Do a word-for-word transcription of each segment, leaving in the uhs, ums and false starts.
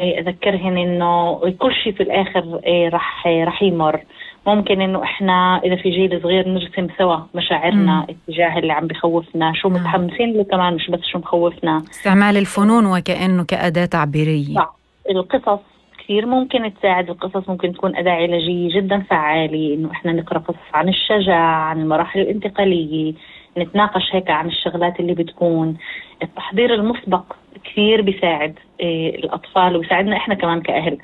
أذكرهن إنه كل شيء في الآخر رح رح يمر. ممكن إنه إحنا إذا في جيل صغير نرسم سوا مشاعرنا مم. اتجاه اللي عم بخوفنا، شو نعم. متحمسين له كمان، مش بس شو مخوفنا. استعمال الفنون وكأنه كأداة تعبيرية. صح. القصص كثير ممكن تساعد، القصص ممكن تكون أداة علاجية جدا فعالة، إنه إحنا نقرأ قصص عن الشجاعة، عن المراحل الانتقالية، نتناقش هيك عن الشغلات اللي بتكون. التحضير المسبق كثير بيساعد إيه الأطفال، وبيساعدنا إحنا كمان كأهل،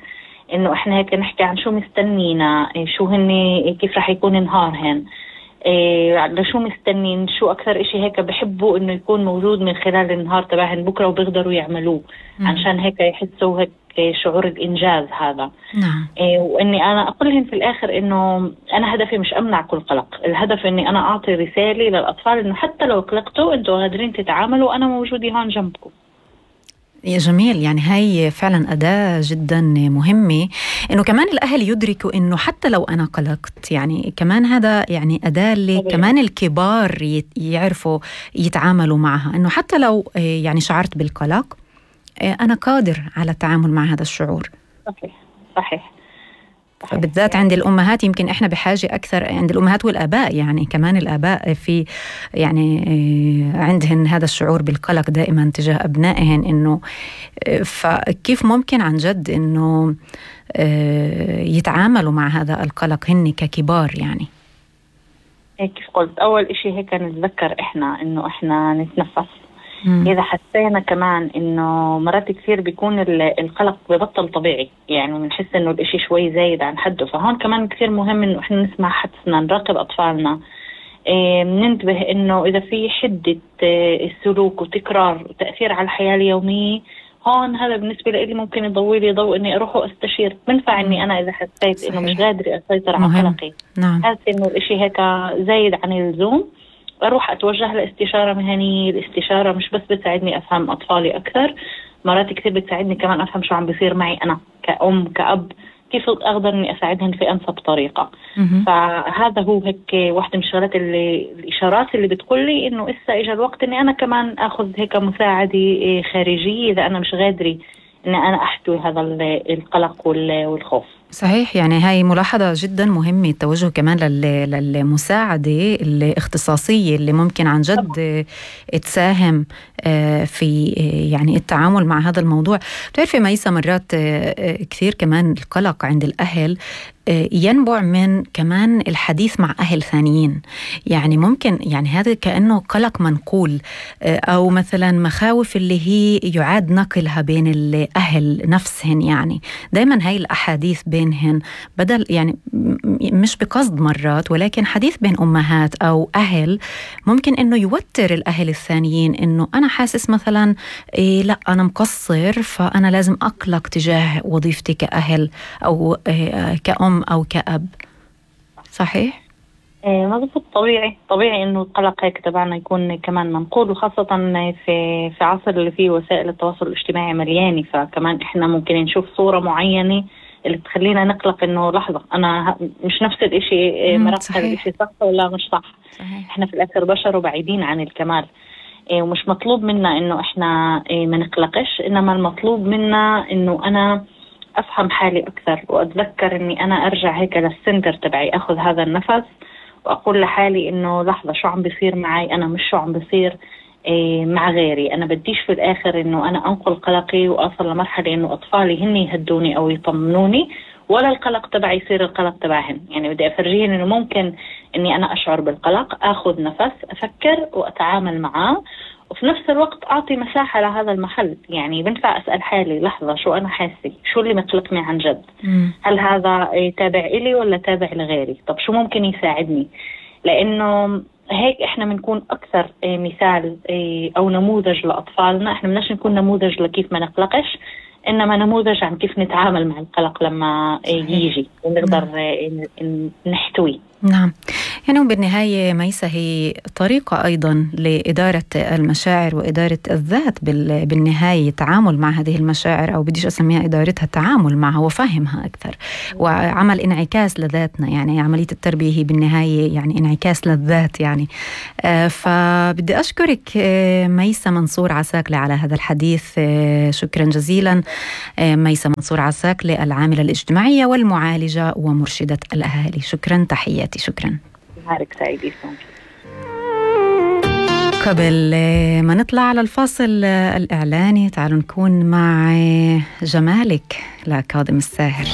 إنه إحنا هيك نحكي عن شو مستنينا، إيه شو هن، إيه كيف رح يكون نهارهن، إيه لشو مستنين، شو أكثر إشي هيك بحبوا إنه يكون موجود من خلال النهار تبعهن بكرة وبيقدروا يعملوه. مم. عشان هيك يحسوا هيك شعور الإنجاز هذا. نعم. إيه وإني أنا أقولهن في الآخر إنه أنا هدفي مش أمنع كل قلق، الهدف إني أنا أعطي رسالة للأطفال إنه حتى لو قلقتوا أنتوا قادرين تتعاملوا، أنا موجودة هون جنبكم. يا جميل، يعني هاي فعلا أداة جدا مهمة، إنه كمان الأهل يدركوا إنه حتى لو أنا قلقت، يعني كمان هذا يعني أداة اللي طبيعي. كمان الكبار يت- يعرفوا يتعاملوا معها، إنه حتى لو آه، يعني شعرت بالقلق، آه، أنا قادر على التعامل مع هذا الشعور. صحيح صحيح صحيح. فبالذات عند الأمهات يمكن إحنا بحاجة أكثر، عند الأمهات والآباء، يعني كمان الآباء في يعني آه، عندهن هذا الشعور بالقلق دائما تجاه أبنائهن، إنه آه، فكيف ممكن عن جد إنه آه، يتعاملوا مع هذا القلق هن ككبار يعني. هيك كيف قلت، أول إشي هيك نتذكر إحنا إنه إحنا نتنفس. مم. إذا حسينا كمان إنه مرات كثير بيكون ال- القلق ببطل طبيعي، يعني بنحس إنه الإشي شوي زايد عن حده، فهون كمان كثير مهم إنه إحنا نسمع حدسنا، نراقب أطفالنا، إيه ننتبه إنه إذا في حدة إيه السلوك وتكرار وتأثير على الحياة اليومية، هون هذا بالنسبة لي ممكن يضوي لي ضوء إني أروح وأستشير. بنفع إني أنا إذا حسيت إنه مش صحيح. قادرة أسيطر على مهم. قلقي، نعم. حاسة إنه الإشي هيك زايد عن اللزوم، أروح أتوجه لاستشارة مهنية. الاستشارة مش بس بتساعدني أفهم أطفالي أكثر، مرات كثير بتساعدني كمان أفهم شو عم بيصير معي أنا كأم كأب، كيف أقدر إني أساعدهن في أنسب طريقة. مهم. فهذا هو هيك واحدة من الشغلات اللي الإشارات اللي بتقول لي إنه إسا إجا الوقت إني أنا كمان أخذ هيك مساعدة خارجية إذا أنا مش قادرة إني أنا أحتوي هذا القلق والخوف. صحيح، يعني هاي ملاحظة جدا مهمة، التوجه كمان لل- للمساعدة الاختصاصية اللي ممكن عن جد تساهم آه، في آه، يعني التعامل مع هذا الموضوع. بتعرفي ميسا، مرات آه، كثير كمان القلق عند الأهل آه، ينبع من كمان الحديث مع أهل ثانيين، يعني ممكن يعني هذا كأنه قلق منقول، آه، أو مثلا مخاوف اللي هي يعاد نقلها بين الأهل نفسهن، يعني دايما هاي الأحاديث بينهن بدل يعني م- مش بقصد مرات، ولكن حديث بين أمهات أو أهل ممكن إنه يوتر الأهل الثانيين، إنه أنا حاسس مثلا إيه لا أنا مقصر، فأنا لازم أقلق تجاه وظيفتي كأهل أو إيه كأم أو كأب. صحيح؟ إيه مضبوط. طبيعي طبيعي انه القلق هيك تبعنا يكون كمان منقول، وخاصة في في عصر اللي فيه وسائل التواصل الاجتماعي مليانة، فكمان احنا ممكن نشوف صورة معينة اللي بتخلينا نقلق انه لحظة انا ه- مش نفس الاشي، إيه مم، مرات هذا صحيح. الاشي صح ولا مش صح. صحيح. احنا في الاخر بشر وبعيدين عن الكمال، إيه ومش مطلوب منا انه احنا إيه ما نقلقش، انما المطلوب منا انه انا افهم حالي اكثر، واتذكر اني انا ارجع هيك للسنتر تبعي، اخذ هذا النفس واقول لحالي انه لحظة شو عم بيصير معي انا، مش شو عم بيصير إيه مع غيري. انا بديش في الاخر انه انا انقل قلقي واصل لمرحلة انه اطفالي هن يهدوني او يطمنوني، ولا القلق تبعي يصير القلق تبعهن. يعني بدي افرجيهن انه ممكن اني انا اشعر بالقلق، اخذ نفس، افكر واتعامل معاه، وفي نفس الوقت اعطي مساحة لهذا المحل. يعني بنفع اسأل حالي لحظة شو انا حاسة، شو اللي مقلقني عن جد، مم. هل هذا إيه تابع إلي ولا تابع لغيري، طب شو ممكن يساعدني. لأنه هيك إحنا بنكون أكثر إيه مثال إيه أو نموذج لأطفالنا. إحنا بدناش نكون نموذج لكيف ما نقلقش، إنما نموذج عن كيف نتعامل مع القلق لما إيه صحيح. يجي ونقدر إيه ن- نحتويه. نعم، يعني بالنهاية ميسة هي طريقة أيضا لإدارة المشاعر وإدارة الذات بالنهاية، تعامل مع هذه المشاعر، أو بديش أسميها إدارتها، تعامل معها وفهمها أكثر، وعمل انعكاس لذاتنا. يعني عملية التربية هي بالنهاية يعني انعكاس للذات يعني. آه فبدي أشكرك آه ميسة منصور عساكلة على هذا الحديث. آه شكرا جزيلا. آه ميسة منصور عساكلة، العاملة الاجتماعية والمعالجة ومرشدة الأهالي. شكرا، تحياتي. شكرا. نهارك سعيد. قبل ما نطلع على الفاصل الإعلاني، تعالوا نكون مع جمالك لكاظم الساهر.